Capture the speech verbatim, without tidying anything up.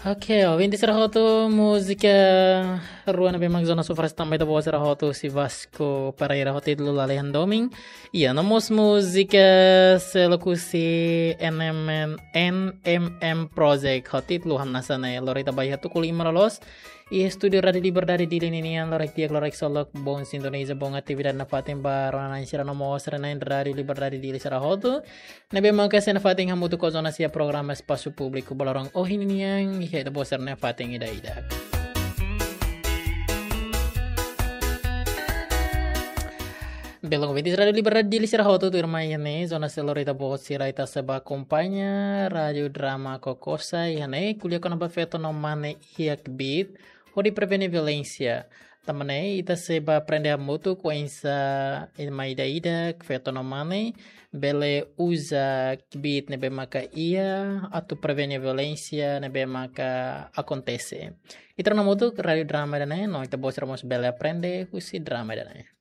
Oke, ouvinte sira hotu, múzika rua ne'ebé mak zona sofres tanba ita-boot sira hotu, husi Vasco Pereira, ho títulu Lalehan Domin. Iha no mós múzika seluk husi N M N, N M M Project, ho títulu Hamnasa Ne'e. Lori ita ba iha tuku lima loloos. Iha estúdiu Rádiu Liberdade Dili ninian, loron di'ak, loron solok, boa sintonia, boa atividade nafatin ba rona-na'in sira no mós sira-na'in Rádiu Liberdade Dili sira hotu. Ne'ebé maka sei nafatin hamutuk ho zona sira programa Espasu Públiku ba loron ohin nian, iha ita-boot sira nafatin ida-idak. Belun ouvinte Rádiu Liberdade Dili sira hotu, tuirmai iha ne'e zona sira lori ita-boot sira, ita sei ba akompaña Rádiu Drama Kokosa iha ne'e, ko'alia kona-ba feto no mane iha kbiit hodi prevene violénsia. Tanba ne'e ita sei ba aprende hamutuk oinsá ema ida-idak, feto no mane, bele uza kbiit ne'ebé maka iha atu prevene violénsia ne'ebé maka akontese. Ita rona hamutuk Rádiu Drama ida-ne'e, no ita-boot sira mós bele aprende husi drama ida-ne'e.